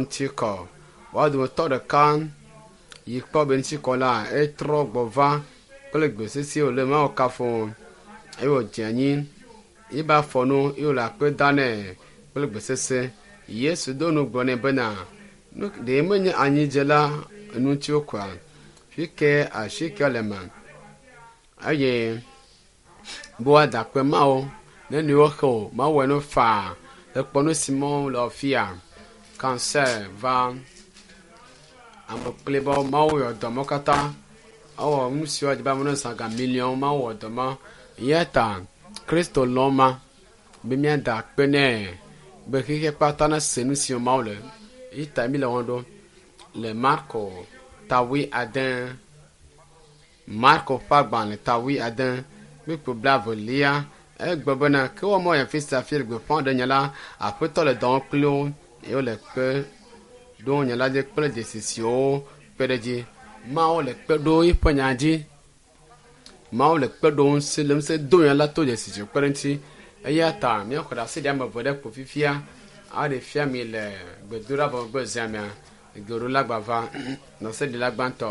Ŋuti kɔ. Woa dometɔ ɖeka yi kpɔ be ŋuti kɔ la, etrɔ gbɔ va kple gbe sesĩe wòle Mawu kafum eye wòdze anyi yibe afɔ nu eye wòle akpe da nɛ kple gbe sesẽ. Yesu do nu gblɔ nɛ bena, Nu ɖe menye anyidzela ŋuti wokɔa? Fi ke asi ke le ma eye be woada akpe Mawu ne nuyiwo xe o, Mawu wɔe no faa. Ekpɔ nu si mɔ le afia. Cancer va ame kple be Mawu yɔ dɔ mawo katã. Ewɔ nu siwo dzi be ame ne zã ga miliɔn Mawu wɔ dɔ ma. Eya ta Kristo lɔ̃ ma be míada akpe nɛ be xexea kpata nese nu si Mawu le. Eyi ta míle wɔm ɖo le Marko ta wuiade. Marko ƒe agbalẽ ta wuiade kpukpui blaevelia egblɔ bena ke wɔmɔ ya fi sia fi le gbeƒã ɖe nya la aƒetɔ le dɔ wɔm kpli wo eye wole kpe ɖo nya la dzi kple dzesi siwo kpe ɖe edzi. Mawu le kpe ɖo eƒe nya dzi. Mawu le kpe ɖo ŋusẽ le ŋusẽ do nya la to dzesi siwo kpe ɖe eŋuti. Eya ta míaxɔ ɖe asi ɖe ame eve ɖe ko fifia aɖe fia mi le gbedoɖa vɔ megbe zã mea. Geɖola gbava ɖaseɖila gbãtɔ.